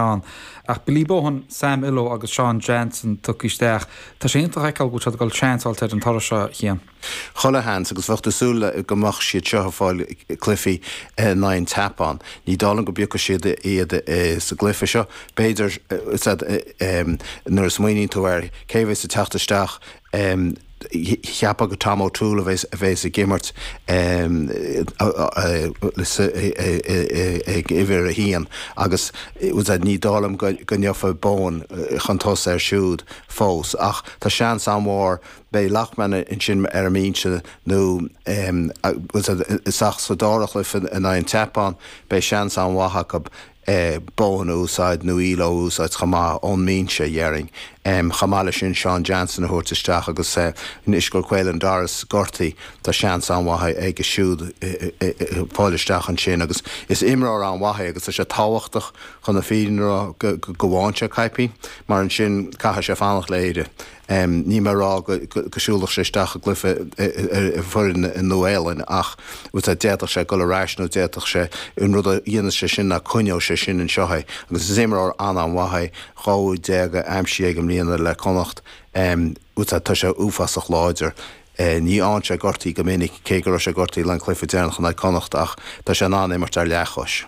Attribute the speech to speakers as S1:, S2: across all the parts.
S1: Ann. Ach Billy Bohan, Sam Illo agus Sean Jansen tugtha isteach. Tá sé iontach a fheiceáil go bhfuil siad ag dul seans a fháilt ar an turas seo, a Chian.
S2: Chuile sheans, agus bheadh tú súil go mbeadh siad seo ag fáil cluichí in aghaidh an tSeapáin. Ní dóigh liom go bpiocfaidh siad iad sa gcluiche seo. B'fhéidir, nuair a smaoiníonn tú air, cé a bheas ag teacht isteach, Cheapfá gur Tom O'Toole a bheas ag imirt ag uimhir a haon agus ní dóigh liom go ngeofa Bohan chun tosaigh air siúd fós ach tá seans an-mhór beidh Loughman ansin ar an mbinse nó sa dara chluiche in aghaidh an tSeapáin beidh seans an-mhaith acu Bohan a úsáid nó Illo a úsáid chomh maith ón mbinse, dhéarfainn. Chomh maith leis sin, Sean Jansen a thabhairt isteach agus anois go bhfuil Caelan Doris gortaithe, tá seans an-mhaith aige siúd fáil isteach ansin agus is imreoir an-mhaith é agus tá sé tábhachtach chun na fírinne a rá go bhfaigheann sé caipín mar ansin caithfidh sé fanacht le Éire. Níl mé ag rá go siúlfadh sé isteach i gcluiche i bhfoireann an Nua-Shéalainn ach d'fhéadfadh sé dul ar ais nó d'fhéadfadh sé, an rud a dhéanfas sé sin ná coinneoidh sé sin anseo é agus is imreoir an-an-mhaith é, 12 úd aimsithe aige i mbliana le Connacht. Tá sé uafásach láidir. Ní fhaigheann sé gortaithe go minic, cé go raibh sé gortaithe le an cluiche deireanach in aghaidh Connacht ach tá sé in ann imirt ar leathchois.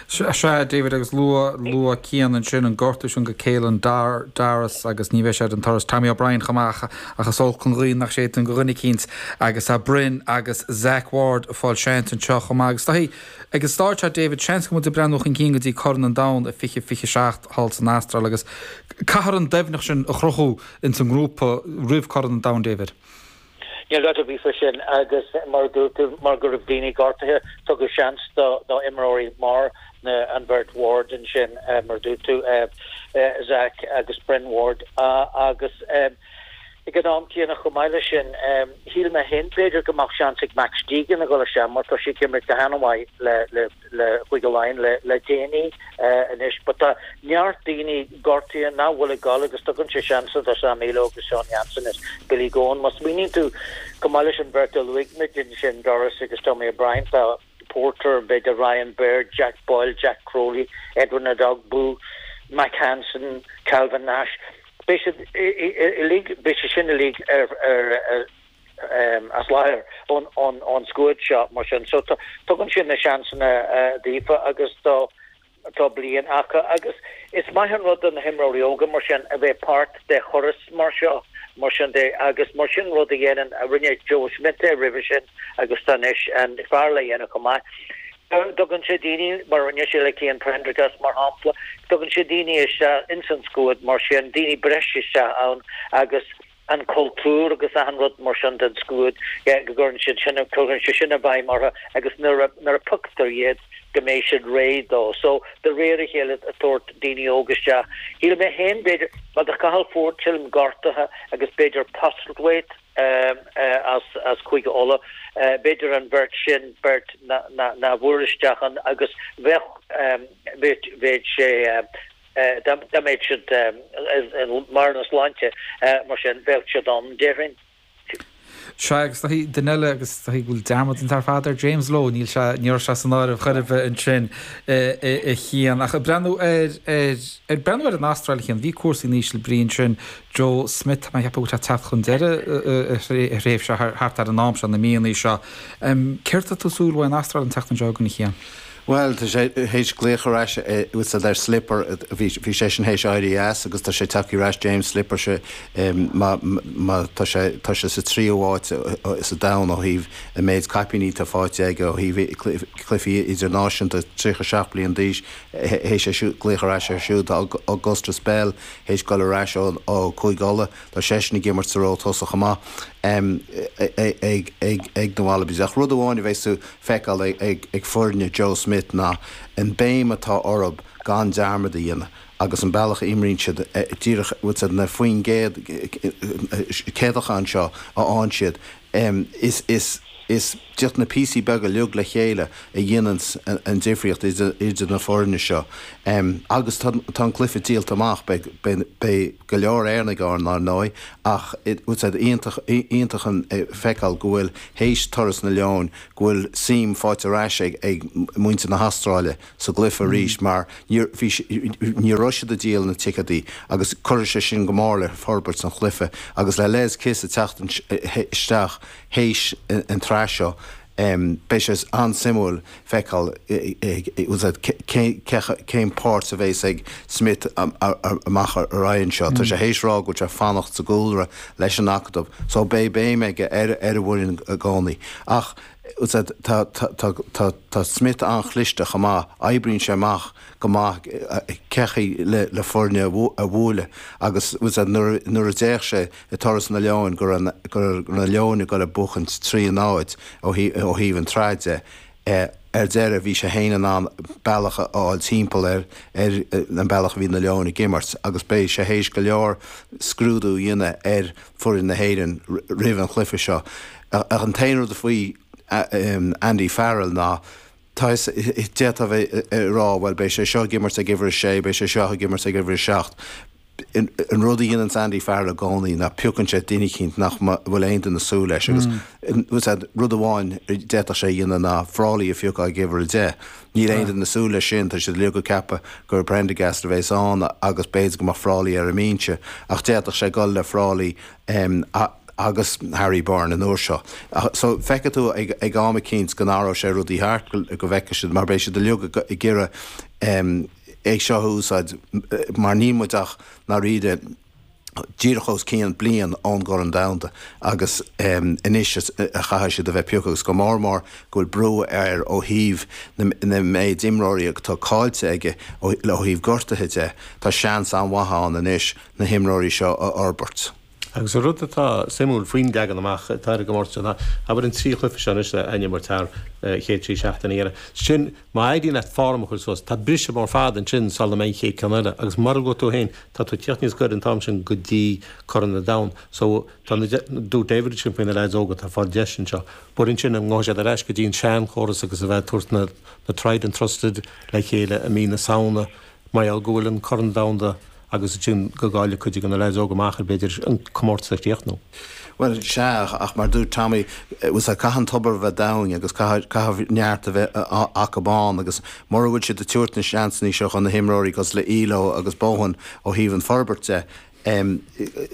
S1: Sea, David, agus luaigh, luaigh Cian ansin an gortú sin go Caelan Doris agus ní bheidh sé ar an turas. Tommy O'Brien chomh maith ach is olc an ghaoth nach séideann go dhuine eicínt agus tá Bryn agus Zach Ward ag fáil seans anseo chomh maith. Agus tá, ag an stáid seo, David, seans go bhfuil muid ag breathnú chun cinn go dtí Corn an Domhain i 2027 thall san Astráil agus caithfear an doimhneacht sin a chruthú ins an ngrúpa roimh Corn an Domhain, David.
S3: Níl dabht ar bith faoi sin agus mar a dúirt tú, mar go raibh daoine gortaithe, tugadh seans do imreoirí mar an bheirt Ward ansin, mar a dúirt tú, Zach agus Bryn Ward agus ag an am céanna chomh maith leis sin, shíl mé féin b'fhéidir go mbeadh seans ag Max Deegan a dhul isteach mar tá sé ag imirt go han-mhaith le le Chúige Laighean le déanaí anois but tá neart daoine gortaithe nach bhfuil ag dul agus tugann sé seansanna do Sam Illo agus Sean Jansen is Billy Bohan. Má smaoiníonn tú chomh maith leis an bheirt a luaigh muid ansin, Doris agus Tommy O'Brien, tá Porter, b'fhéidir Ryan Baird, Jack Boyle, Jack Crowley, Edwin Edogbo, Mack Hansen, Calvin Nash. Beidh siad uilig, beidh siad sin uilig ar ar as láthair ón scuad seo mar sin. So tugann sé na seansanna daofa agus tá tá bliain acu agus is maith an rud do na himreoirí óga mar sin a bheith páirt de thuras mar seo mar sin de agus mar sin rud a dhéanann a rinne Joe Schmidt é roimhe sin agus tá anois an fear le dhéanamh chomh maith. Tugann sé daoine mar rinne sé le Cian Prendergast mar shampla, tugann sé daoine isteach ins an scuad mar sin, daoine breise isteach ann agus an cultúr agus achan rud mar sin den scuad, go gcuireann siad sin, cuireann sé sin i bhfeidhm orthu agus nuair a, nuair a pioctar iad go mbeidh siad réidh dó. So, de réir a chéile ag tabhairt daoine óga isteach. Shíl mé féin b'fhéidir, bhuel tá Cathal Forde sílim gortaithe agus b'fhéidir Postlethwaite as, as Cúige Uladh, b'fhéidir an bheirt sin, beirt ná, ná bhfuair isteach ann agus bheadh, bheadh, bheadh sé, Dá mbeadh siad i mbarr na sláinte mar sin, bheadh siad ann, déarfainn.
S1: Sea, agus tá duine eile, agus tá go bhfuil dearmad déanta ar fad ar James Lowe, níl sé, ní raibh sé san áireamh chor ar bith ansin a Chian. Ach ag breathnú ar, ar, ag breathnú ar an Astráil a Chian, bhí cúrsaí in íseal brí ansin, Joe Schmidt, tá mé ag ceapadh go bhfuil sé ag teacht chun deireadh a thréimhse thart ar an am seo, na míonna seo. Céard atá tú ag súil uaidh an Astráil an tseachtain seo chugainn a Chian?
S2: Bhuel, tá sé théis glaoch ar ais úsáid ar Slipper, bhí seisean théis éirí as agus tá sé tagtha ar ais, James Slipper, sé má má tá sé tá sé sa tríú háit sa domhan ó thaobh an méid caipíní atá faighte aige ó thaobh cluichí idirnáisiúnta, 37 bliain d'aois, théis é siúd glaoch ar ais air siúd, tá Augustus Bell théis dul ar ais ó Chúige Uladh, tá seisean ag imirt sa ról tosaigh chomh maith ag ag ag na Wallabies. Ach rud amháin a bheas tú feiceáil ag foirne Joe Schmidt ná an béim atá orthu gan dearmad a dhéanamh agus an bealach a imríonn siad díreach bhfuil siad na faoin gcéad céadacháin seo a fhaigheann siad is is is. Díreach na píosaí beaga uilig le chéile a dhéananns an difríocht idir na foirne seo. Agus tá an cluiche díolta amach, beidh go leor Éireannaigh ann, ar ndóigh, ach iontach iontach an feiceáil go bhfuil, théis turas na Leoin, go bhfuil suim faighte ar ais ag muintir na hAstráile sa gcluiche arís mar ní raibh siad ag díol na ticéadaí agus cuirfidh sé sin go mór le forbairt an chluiche agus le Les Kiss ag teacht isteach théis an tsraith seo beidh sé an-suimiúil feiceáil cén páirt a bheas ag Smith amach ar aghaidh anseo. Tá sé théis rá go bhfuil sé fanacht sa gcúlra leis an Acadamh so beidh béim aige ar an bhfoireann i gcónaí. Ach tá Smith an-chliste chomh maith, oibríonn sé amach go maith cé chaoi le foirne a bhualadh agus nuair a d'fhéach sé i dturas na Leoin go raibh na Leoin ag dul ag buachaint 3 0 ó thaobh an tsraith de. Ar deireadh bhí sé féin in ann bealach a fháil timpeall ar an bealach a bhí na Leoin ag imirt agus beidh sé théis go leor scrúdú a dhéanamh ar foireann na hÉireann roimh an chluiche seo. Ach an t-aon rud faoi Andy Farrell ná Tá fhios, d'fhéadfá a bheith ag rá, bhuel, beidh sé seo ag imirt ag uimhir a sé, beidh sé seo ag imirt ag uimhir a 7. An rud a dhéananns Andy Farrell i gcónaí ná piocann sé duine eicínt nach bhfuil aon duine ag súil leis agus rud amháin a d'fhéadfadh sé a dhéanamh ná Frawley a phiocadh ag uimhir a 10. Níl aon duine ag súil leis sin, tá siad uilig ag ceapadh gur Prendergast a bheas ann agus b'fhéidir go mbeadh Frawley ar an mbinse ach d'fhéadfadh sé dul le Frawley agus Harry Byrne an uair seo. So feicfidh tú ag am eicínt go n-athróidh sé rudaí thart, go bhfeicfidh siad, mar beidh siad uilig ag iarraidh é seo a úsáid mar níl muid ach ndáiríre díreach os cionn bliain ón gCorn Domhanda agus anois a chaithfidh siad a bheith pioctha agus go mór mór go bhfuil brú air ó thaobh na méid imreoirí atá caillte aige ó thaobh gortuithe de, tá seans an-mhaith ann anois na himreoirí seo a fhorbairt.
S4: Agus an rud atá suimiúil faoin leagan amach atá ar an gcomórtas seo ná, abair an 3 chluiche seo anois a imirt thar chéad 3 seachtaine a dhéanamh. Sin, má éiríonn leat form a chur suas, tá briseadh mór fada ansin sula mbeidh an chéad ceann eile. Agus mar a luaigh tú féin, tá tú ag tíocht níos gaire an t-am sin go dtí Corn an Domhain. So, tá na, dúirt David ansin faoi na leaids óga atá ag fáil deis anseo. But ansin, an ngabhfaidh siad ar ais go dtí an seanchóras agus a bheith ag tabhairt na, na tried and trusted le chéile i mí na Samhna, Mar gheall go bhfuil an Corn Domhanda agus ansin go gcaillfidh cuid de na leaids óga amach ar b'fhéidir an comórtas a chríochnú.
S2: Bhuel, sea, ach mar a dúirt Tommy, bhuel, caithfidh an tobar a bheith domhain agus caithfidh neart a bheith acu ann agus mura bhfuil siad ag tabhairt na seansanna seo do na himreoirí cosúil le Illo agus Bohan ó thaobh an forbairt de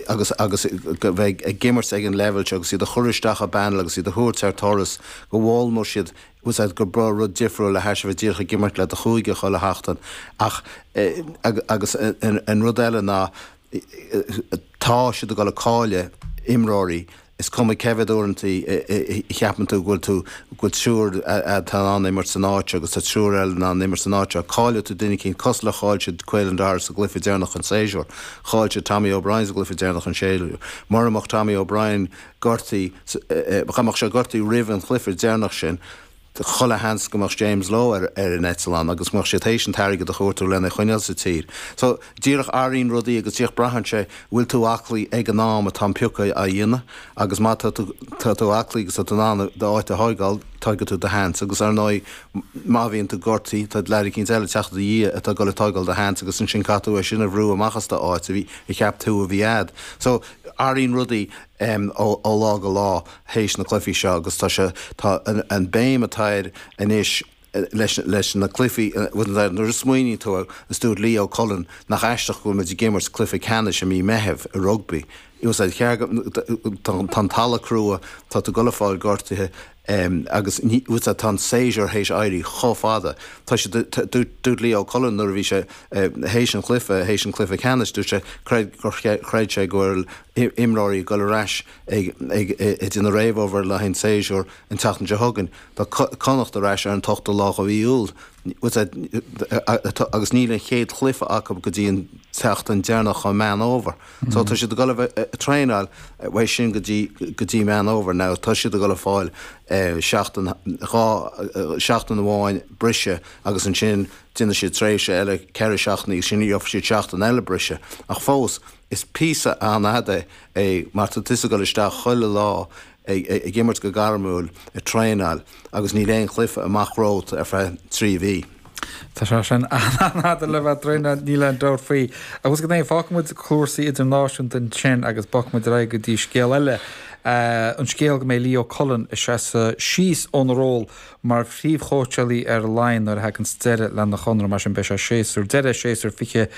S2: agus agus go bheith ag imirt ag an leibhéal seo agus iad a chur isteach i bpanel agus iad a thabhairt ar turas go bhfoghlaimeoidh siad bhfuil a fhios agat gur breá rud difriúil le hais a bheith díreach ag imirt le do chúige chuile sheachtain ach agus an rud eile ná tá siad ag dul ag cailleadh imreoirí is cuma cé mhéad uaireanta a cheapann tú go bhfuil tú go bhfuil triúr atá in ann imirt san áit seo agus tá triúr eile in ann imirt san áit seo. Caillfidh tú duine eicínt cosúil le chaill siad Caelan Doris sa gcluiche deireanach an séasúr. Chaill siad Tommy O'Brien sa gcluiche deireanach an séasúr. Mura mbeadh Tommy O'Brien gortaithe, dá mbeadh sé gortaithe roimh an chluiche deireanach sin, chuile sheans go mbeadh James Lowe ar an eitleán agus go mbeadh siad théis an t-airgead a chuartú lena choinneáil sa tír. So, díreach athraíonn rudaí agus díreach braitheann sé bhfuil tú aclaí ag an am atá an piocadh á dhéanamh agus má tá tú tá tú aclaí agus tá tú in ann d'áit a thógáil, tógfaidh tú do sheans agus ar ndóigh má bhíonn tú gortaithe tá leaid eicínt eile ag teacht i do dhiaidh atá ag dul ag tógáil do sheans agus ansin caithfidh tú é sin a bhrú amach as d'áit a bhí a cheap tú a bhí a'd. So, athraíonn rudaí. ó lá go lá théis na cluichí seo agus tá sé, tá an béim atá air anois leis, leis na cluichí, nuair a smaoiníonn tú air, is dúirt Leo Cullen nach aisteach go bhfuil muid ag imirt cluiche ceannais i mí Meithimh i rugbaí. Tá an talamh crua, tá tú ag dul ag fáil gortuithe agus tá an séasúr théis éirí chomh fada. Tá siad, dúirt Leo Cullen nuair a bhí sé théis an chluiche, théis an chluiche ceannais, dúirt sé gur chreid sé go bhfuil imreoirí ag dul ar ais ag déanamh réamhobair le haghaidh an tséasúir an tseachtain seo chugainn. Tá Connacht ar ais ar an t-ochtú lá de mhí Iúil agus níl an chéad chluiche acu go dtí an tseachtain deireanach de Mheán Fhómhair. So tá siad ag dul a bheith ag traenáil uaidh sin go dtí go dtí Meán Fhómhair. Now tá siad ag dul a fáil seachtain, dhá, seachtain amháin briseadh agus ansin déanfaidh siad tréimhse eile ceithre seachtainí agus ansin gheobhaidh siad seachtain eile briseadh. Ach fós, Is píosa an-fhada é mar tá tusa ag dul isteach chuile lá. Ag imirt go gairmiúil, ag traenáil agus níl aon chluiche amach romhat ar feadh 3 mhí.
S1: Tá sé sin an-fhada le bheith ag traenáil, níl aon dabht faoi. Agus go deimhin, fágfaidh muid cúrsaí idirnáisiúnta ansin agus bogfaidh muid ar aghaidh go dtí scéal eile, an scéal go mbeidh Leo Cullen ag seasamh síos óna ról mar phríomhchóitseálaí ar Laighin nuair a thaganns deireadh lena chonradh. Mar sin beidh sé séasúr deireadh, séasúr 20.